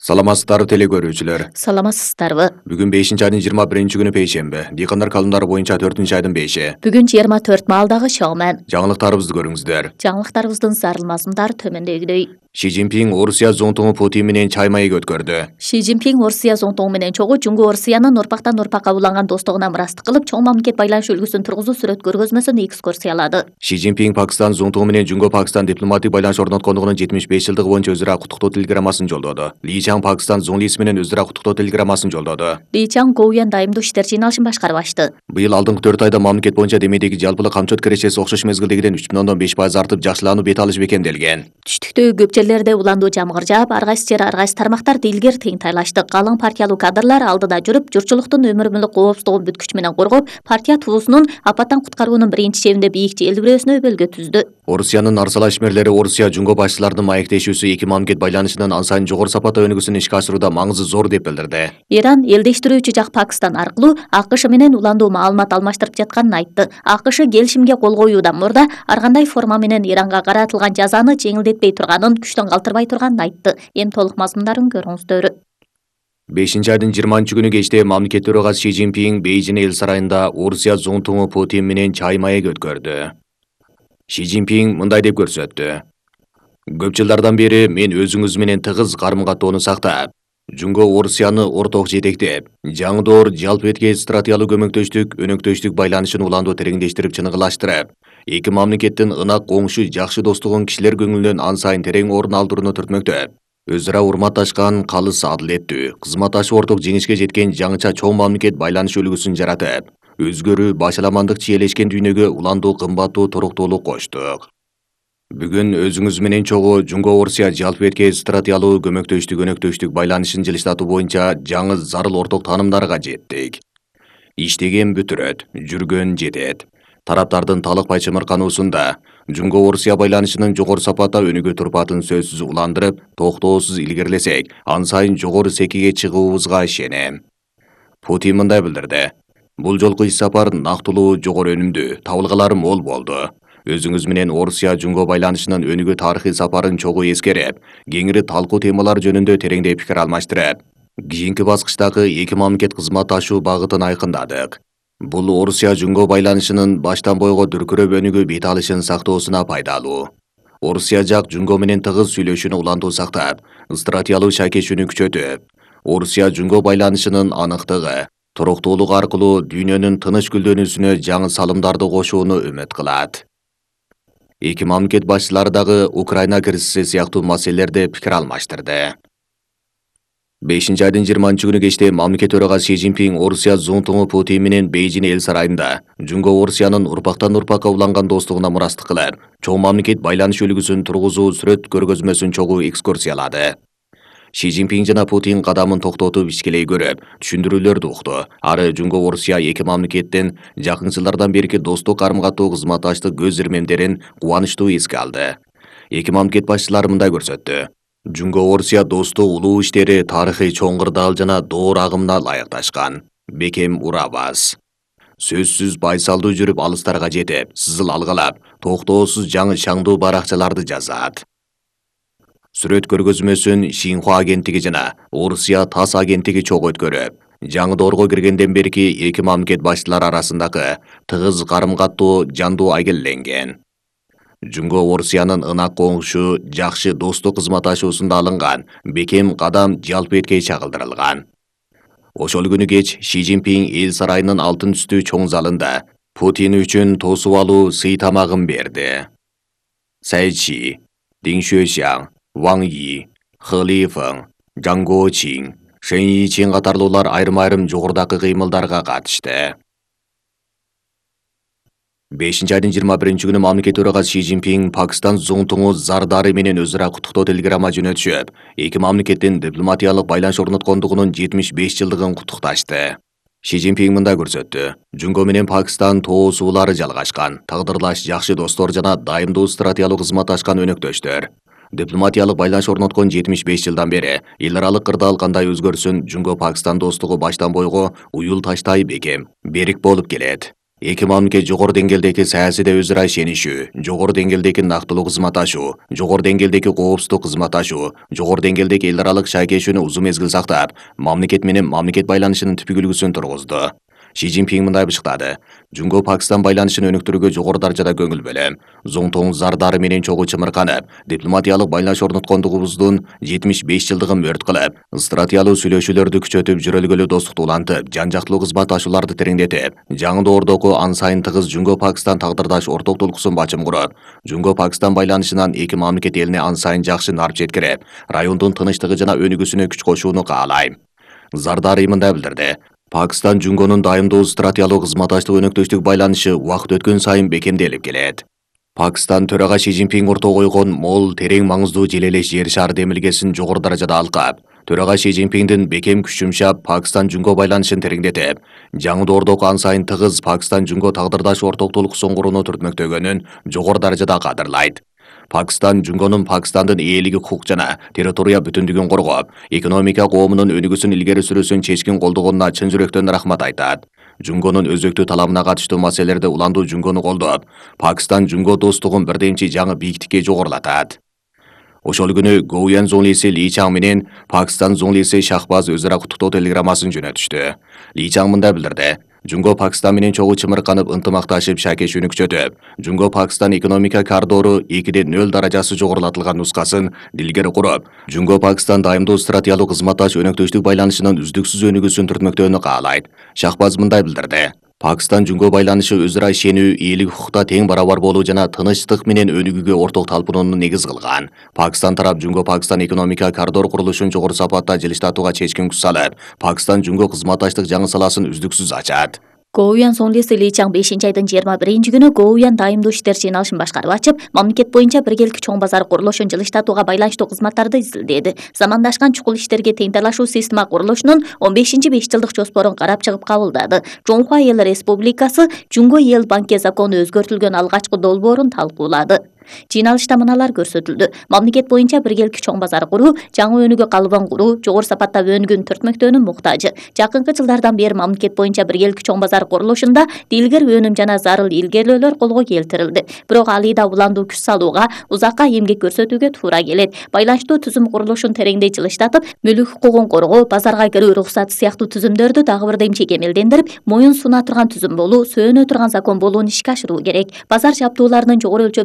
Саламатсыздарбы теле көрүүчүлөр. Саламатсыздарбы. Бүгүн 5-айдын 21-күнү пейшемби. Дыйкандар калымдары боюнча 4-айдын 5-и. Бүгүн 24 маалдагы чогумен. Жаңылыктарыбызды көрүңүздөр. Жаңылыктарыбыздын зарыл мазмундары төмөндөгүдөй. Ши Цзиньпин Орусия зонтугу Путин менен чай маек өткөрдү. Ши Цзиньпин Орусия зонтугу менен чогуу Жунго Орусиянын урпактан урпакка уланган достугуна мурастык кылып, чоң мамлекет байланыш үлгүсүн тургузуу сүрөт көргөзмөсүн экскурсиялады. Ши Цзиньпин Пакистан зонтугу менен Жунго Пакистан дипломатик байланыш орноткондугунун 75 жылдыгы боюнча өзү ара куттуктоо телеграммасын жолдоду. Ли Чан Пакистан Зонлиси менен өзү ара куттуктоо телеграммасын жолдоду. Ли Чан Гоуян дайымдуу иштер жыйналышын башкарып ачты. Быйыл алдыңкы 4 айда мамлекет боюнча демейдеги жалпылык камчот кирешеси окшош мезгилдегиден 3,5% артып, жакшылануу бет алышы бекемделген. Түштүктөгү көп жерлерде уландуу жамгыр жаап, ар кайсы жер ар кайсы тармактарда илгер тыйынтайлашты. Калың партиялуу кадрлар алдыда жүрүп, журтчулуктун өмүр мүлк коопсуздугун бүткүч менен коргоп, партия тулуусунун апаттан куткаруунун биринчи чебинде бийик желбирөөсүнө өбөлгө түздү. Орусиянын арсала ишмерлери Орусия Жунго башчыларынын маектешүүсү эки мамлекет байланышынын ан сайын жогору сапатта өнүгүүсүн ишке ашырууда маңызы зор деп билдирди. Иран элдештирүүчү жак Пакистан аркылуу АКШ менен уландуу маалымат алмаштырып жатканын айтты. АКШ келишимге кол коюудан мурда ар кандай форма менен Иранга каратылган жазаны жеңилдетпей турганын, күчтөн калтырбай турганын айтты. Эми толук мазмундарын көрүңүздөр. 5-айдын 20-күнү кечте мамлекет төрагасы Ши Цзиньпин Бейжин эл сарайында Орусия зонтугу Путин менен чай маек өткөрдү. Ши Цзиньпин мындай деп көрсөттү. Көп жылдардан бери мен өзүңүз менен тыгыз карым-каттоону сактап, Жунго Орусияны орток жетектеп, жаңдоор жалпы этке стратегиялык көмөктөштүк, өнөктөштүк байланышын уландуу тереңдештирип чыныгылаштырып, эки мамлекеттин ынак коңшу жакшы достугун кишилер көңүлүнөн ан сайын терең орун алдырууну түртмөктөп, өз ара урматташкан, калыс адилеттүү, кызматташып орток жеңишке жеткен жаңыча чоң мамлекет байланыш үлгүсүн жаратып, өзгөрүү, башаламандык чиелешкен дүйнөгө уландуу кымбаттуу туруктуулук коштук. Бүгүн өзүңүз менен чогуу Жунго Орусия жалпы этке стратегиялуу көмөктөштүк, өнөктөштүк байланышын жылыштатуу боюнча жаңы зарыл орток таанымдарга жеттик. Иштеген бүтүрөт, жүргөн жетет. Тараптардын талыкпай чымыркануусунда Жунго Орусия байланышынын жогору сапатта өнүгө турпатын сөзсүз уландырып, токтоосуз илгерилесек, ан сайын жогору секиге чыгуубузга ишенем. Путин мындай билдирди. Бул жолку иш сапар нактылуу, жогору өнүмдүү, табылгалары мол болду. Өзүңүз менен Орусия Жунго байланышынын өнүгүү тарыхый сапарын чогуу эскерип, кеңири талкуу темалар жөнүндө тереңдей пикир алмаштырып, кийинки баскычтагы эки мамлекет кызматташуу багытын айкындадык. Бул Орусия Жунго байланышынын баштан бойго дүркүрөп өнүгүү бет алышын сактоосуна пайдалуу. Орусия жак Жунго менен тыгыз сүйлөшүүнү улантуу сактап, стратегиялык шакешүүнү күчөтүп, Орусия Жунго байланышынын аныктыгы, туруктуулук аркылуу дүйнөнүн тыныч гүлдөнүүсүнө жаңы салымдарды кошууну үмүт кылат. Эки мамлекет башчылары дагы Украина кризиси сыяктуу маселелерде пикир алмаштырды. 5-айдын 20-күнү кечте мамлекет төрагасы Ши Цзиньпин Орусия зонтугу Путин менен Бейжин эл сарайында Жунго Орусиянын урпактан урпакка уланган достугуна мурастык кылып, чоң мамлекет байланыш үлгүсүн тургузуу сүрөт көргөзмөсүн чогуу экскурсиялады. Ши Цзиньпин жана Путин кадамын токтотуп ишкелей көрүп, түшүндүрүүлөрдү укту. Ары Жунго Орусия эки мамлекеттин жакын жылдардан берки достук карым-каттоо, кызматташтык көз ирмемдерин кубанычтуу эске алды. Эки мамлекет башчылары мындай көрсөттү. Жунго Орусия достук улуу иштери тарыхый чоң кырдаал жана доор агымына ылайыкташкан. Бекем урабас. Сөзсүз байсалдуу жүрүп алыстарга жетип, сызыл алгалап, токтоосуз жаңы шаңдуу баракчаларды жазат. Сүрөт көргөзмөсүн Шинхуа агенттиги жана Орусия ТАСС агенттиги чогуу өткөрүп, жаңы доорго киргенден берки эки мамлекет башчылары арасындагы тыгыз карым-каттоо жандуу айгелленген. Жунго Орусиянын ынак коңшу, жакшы достук кызматташуусунда алынган бекем кадам жалпы этке чагылдырылган. Ошол күнү кеч Ши Цзиньпин эл сарайынын алтын түстүү чоң залында Путин үчүн тосуп алуу сый тамагын берди. Цай Чи, Дин Шуэшян, Ван Yi, He Lifeng, Zhang Guoqing, Shen Yiqing катарлуулар айрым-айрым жогорудагы кыймылдарга катышты. 5-айдын 21-күнү мамлекет төрагасы Ши Цзиньпин Пакистан зонтугу Зардары менен өз ара куттуктоо телеграмма жөнөтүшүп, эки мамлекеттин дипломатиялык байланыш орноткондугунун 75 жылдыгын куттукташты. Ши Цзиньпин мындай көрсөттү. Жунго менен Пакистан тоо суулары жалгашкан, тагдырлаш жакшы достор жана дайымдуу стратегиялык кызматташкан өнөктөштөр. Дипломатиялык байланыш орноткон 75 жылдан бери эл аралык кырдаал кандай өзгөрсүн, Жунго Пакистан достугу баштан бойго уюл таштай бекем, берик болуп келет. Эки мамлекет жогору деңгээлдеги саясийде өз ара ишенишүү, жогору деңгээлдеги нактылуу кызматташуу, жогору деңгээлдеги коопсуздук кызматташуу, жогору деңгээлдеги эл аралык шаекешүүнү узун мезгил сактап, мамлекет менен мамлекет байланышынын түпкү үлгүсүн тургузду. Ши Цзиньпин мындай бышыктады: Жунго Пакистан байланышын өнүктүрүүгө жогору даражада көңүл бөлөм. Зоңтоң зардары менен чогуу чымырканып, дипломатиялык байланыш орноткондугубуздун 75 жылдыгын мөрт кылып, стратегиялуу сүйлөшүүлөрдү күчөтүп, жүрөлгөлүү достукту улантып, жан жактылуу кызматташууларды тереңдетип, жаңы доордогу ан сайын тыгыз Жунго Пакистан тагдырдаш орток толкусун бачым куруп, Жунго Пакистан байланышынан эки мамлекет элине ан сайын жакшы нарп жеткирип, райондун тынычтыгы жана өнүгүүсүнө күч кошууну каалайм. Зардари мындай билдирди: Пакистан Жунгонун дайымдуу стратегиялык кызматташтык өнөктөштүк байланышы убакыт өткөн сайын бекемделип келет. Пакистан төрага Ши Цзиньпин ортого койгон мол, терең маңыздуу жел элес жер шары демилгесин жогору даражада алкап, төрага Ши Цзиньпиндин бекем күч жумшап, Пакистан Жунго байланышын тереңдетип, жаңы доордогу ан сайын тыгыз Пакистан Жунго тагдырдаш орток толкусын курууну түртмөктөгөнүн жогору даражада кадырлайт. Пакистан Жунгонун Пакистандын ээлиги, укук жана территория бүтүндүгүн коргоп, экономика коомунун өнүгүүсүн илгери сүрүүсүн чечкин колдогонуна чын жүрөктөн рахмат айтат. Жунгонун өзөктүү талабына катыштуу маселелерде уландуу Жунгону колдоп, Пакистан Жунго достугун бирдемчи жаңы бийиктикке жогорулатат. Ошол күнү Гоуян зонлиси Ли Чаң менен Пакистан зонлиси Шахбаз өз ара куттуктоо телеграммасын жөнөтүштү. Ли Чаң мындай билдирди: Жунго Пакистан менен чогуу чымырканып, ынтымакташып, шаекешүүнү күчөтүп, Жунго Пакистан экономика коридору 2/0 даражасы жогорулатылган нускасын дилгери куруп, Жунго Пакистан дайымдуу стратегиялык кызматташ өнөктөштүк байланышынын үздүксүз өнүгүүсүн түртмөктөөнү каалайт. Шахбаз мындай билдирди: Пакистан Жунго байланышы өз ара ишенүү, ээлик укукта тең барабар болуу жана тынычтык менен өнүгүүгө орток талпынууну негиз кылган. Пакистан тарап Жунго Пакистан экономика коридор курулушун жогору сапатта жылыштатууга чечкин күч салып, Пакистан Жунго кызматташтык жаңы саласын үздүксүз ачат. Гоуян зонлиси Ли Чаң 5-айдын 21 күнү Гоуян дайымдуу иштер жыйналышын башкарып ачып, мамлекет боюнча биргеликти чоң базар курулушун жылыштатууга байланыштуу кызматтарды изилдеди. Замандашкан чукул иштерге тең талашуу система курулушунун 15-5 жылдык жоспорун карап чыгып кабылдады. Жоңхуа Эл Республикасы Жунго Эл банке закону өзгөртүлгөн алгачкы долбоорун талкуулады. Жыйналышта мыналар көрсөтүлдү: мамлекет боюнча биргеликти чоң базар куруу, жаңы өнүгүү калыбын куруу, жогору сапатта өнүгүүнү түртмөктөөнүн муктажы. Жакынкы жылдардан бери мамлекет боюнча биргеликти чоң базар курулушунда дилгер өнүм жана зарыл илгерилөөлөр колго келтирилди. Бирок алыйда уландуу күч салууга, узакка эмгек көрсөтүүгө туура келет. Байланыштуу түзүм курулушун тереңдей жылыштатып, мүлүк укугун коргоо, базарга кирүү уруксаты сыяктуу түзүмдөрдү дагы бирдемче кемелдендирип, моюн суна турган түзүм болуу, сөөнө турган закон болуун ишке ашыруу керек. Базар жабдууларынын жогору